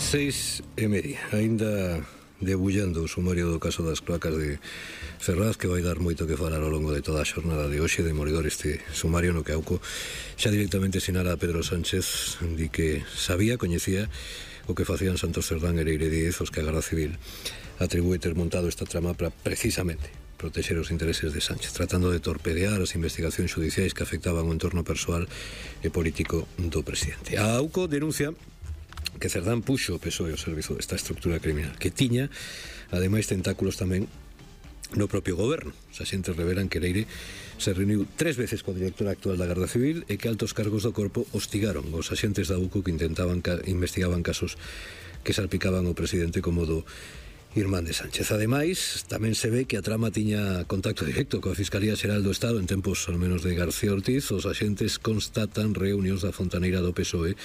6:30. Ainda debullando o sumario do caso das cloacas de Ferraz, que vai dar moito que falar ao longo de toda a xornada de hoxe. Demoledor este sumario no que AUCO xa directamente sinala a Pedro Sánchez di que sabía, coñecía o que facían Santos Cerdán e Leire Díez, os que a Garda Civil atribúe ter montado esta trama para precisamente protexer os intereses de Sánchez, tratando de torpedear as investigacións judiciais que afectaban o entorno persoal e político do presidente. A AUCO denuncia que Cerdán puxo o PSOE ao servizo desta estructura criminal, que tiña, ademais, tentáculos tamén no propio goberno. Os axentes revelan que Leire se reuniu 3 veces co director actual da Garda Civil e que altos cargos do corpo hostigaron os axentes da AUCO que investigaban casos que salpicaban o presidente como do irmán de Sánchez. Ademais, tamén se ve que a trama tiña contacto directo coa Fiscalía Xeral do Estado en tempos, ao menos, de García Ortiz. Os axentes constatan reunións da fontaneira do PSOE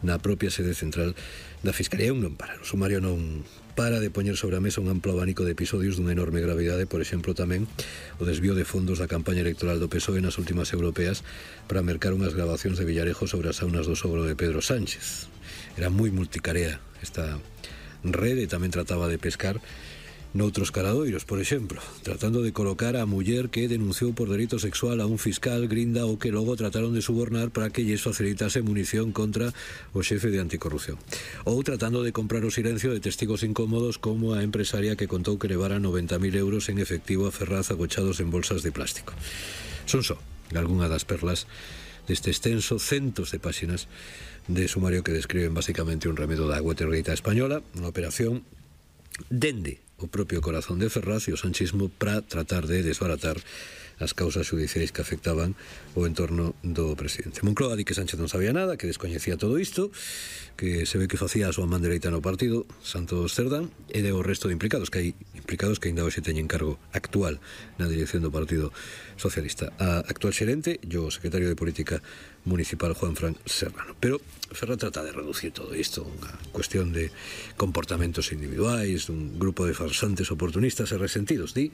na propia sede central da Fiscalía. Non para. O sumario non para de poñer sobre a mesa un amplo abanico de episodios dunha enorme gravidade, por exemplo, tamén o desvío de fondos da campaña electoral do PSOE nas últimas europeas para mercar unhas grabacións de Villarejo sobre as saunas do sogro de Pedro Sánchez. Era moi multicarea esta rede, tamén trataba de pescar noutros caradoiros, por exemplo, tratando de colocar a muller que denunciou por delito sexual a un fiscal grinda o que logo trataron de subornar para que lles facilitase munición contra o xefe de anticorrupción, ou tratando de comprar o silencio de testigos incómodos como a empresaria que contou que levara 90.000 euros en efectivo a Ferraz agochados en bolsas de plástico. Son só algunha das perlas deste extenso, centos de páxinas de sumario que describen basicamente un remedo da Watergate española, unha operación dende o propio corazón de Ferraz e o sanchismo para tratar de desbaratar as causas judiciais que afectaban o entorno do presidente. Moncloa di que Sánchez non sabía nada, que descoñecía todo isto, que se ve que facía a súa man dereita no partido, Santos Cerdán, e de o resto de implicados, que hai implicados que ainda hoxe teñen cargo actual na dirección do Partido Socialista. A actual xerente e o secretario de Política Municipal, Juanfran Serrano. Pero Ferraz trata de reducir todo isto a unha cuestión de comportamentos individuais, dun grupo de farsantes oportunistas e resentidos, di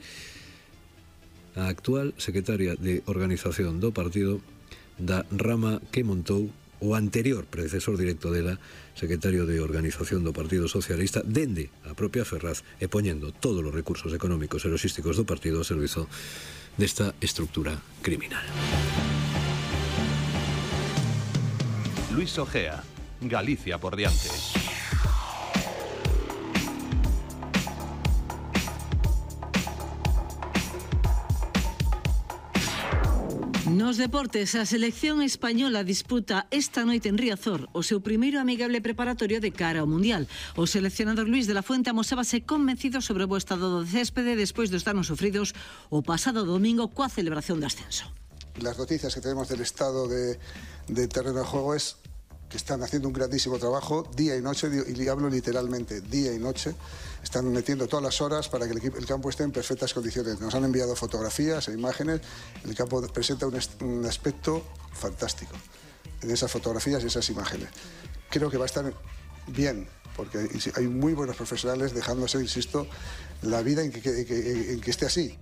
a actual secretaria de Organización do partido da rama que montou o anterior predecesor directo dela, secretario de Organización do Partido Socialista, dende a propia Ferraz e poñendo todos os recursos económicos e logísticos do partido ao servizo desta estructura criminal. Luis Ojea, Galicia por diante. Nos deportes, a selección española disputa esta noite en Riazor o seu primeiro amigable preparatorio de cara ao Mundial. O seleccionador Luis de la Fuente amosábase convencido sobre o bo estado do céspede despois dos danos sofridos o pasado domingo coa celebración do ascenso. Las noticias que tenemos del estado de terreno de juego es que están haciendo un grandísimo trabajo día y noche, y hablo literalmente día y noche. Están metiendo todas las horas para que el campo esté en perfectas condiciones. Nos han enviado fotografías e imágenes. El campo presenta un aspecto fantástico en esas fotografías y esas imágenes. Creo que va a estar bien, porque hay muy buenos profesionales dejándose, insisto, la vida en que esté así.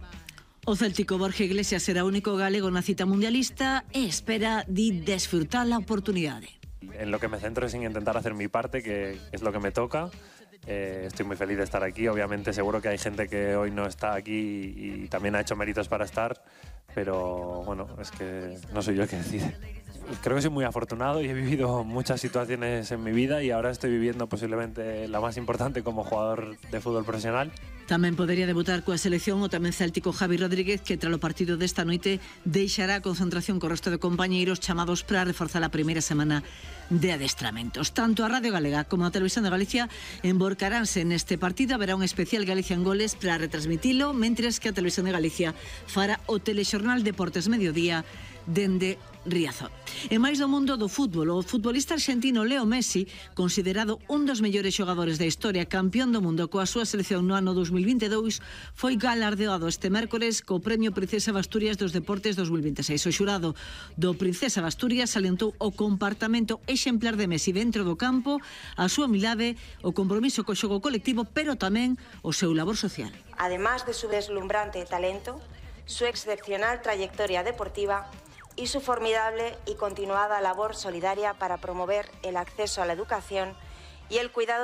O céltico Borja Iglesias será o único galego na cita mundialista e espera de desfrutar a oportunidade. En lo que me centro es en intentar hacer mi parte, que es lo que me toca. Estoy muy feliz de estar aquí. Obviamente seguro que hay gente que hoy no está aquí y también ha hecho méritos para estar, pero bueno, es que no soy yo el que decide. Creo que soy muy afortunado y he vivido muchas situaciones en mi vida y ahora estoy viviendo posiblemente la más importante como jugador de fútbol profesional. Tamén podería debutar coa selección o tamén céltico Javi Rodríguez, que tras o partido desta noite deixará a concentración co resto de compañeiros chamados para reforzar a primeira semana de adestramentos. Tanto a Radio Galega como a Televisión de Galicia emborcaránse neste partido. Haberá un especial Galicia en Goles para retransmitilo, mentres que a Televisión de Galicia fará o telexornal Deportes Mediodía dende Riazor. E máis do mundo do fútbol, o futbolista argentino Leo Messi, considerado un dos mellores xogadores da historia, campeón do mundo coa súa selección no ano 2022, foi galardeado este mércores co Premio Princesa de Asturias dos Deportes 2026. O xurado do Princesa de Asturias salientou o comportamento exemplar de Messi dentro do campo, a súa humildade, o compromiso co xogo colectivo, pero tamén o seu labor social. Además de su deslumbrante talento, su excepcional trayectoria deportiva y su formidable y continuada labor solidaria para promover el acceso a la educación y el cuidado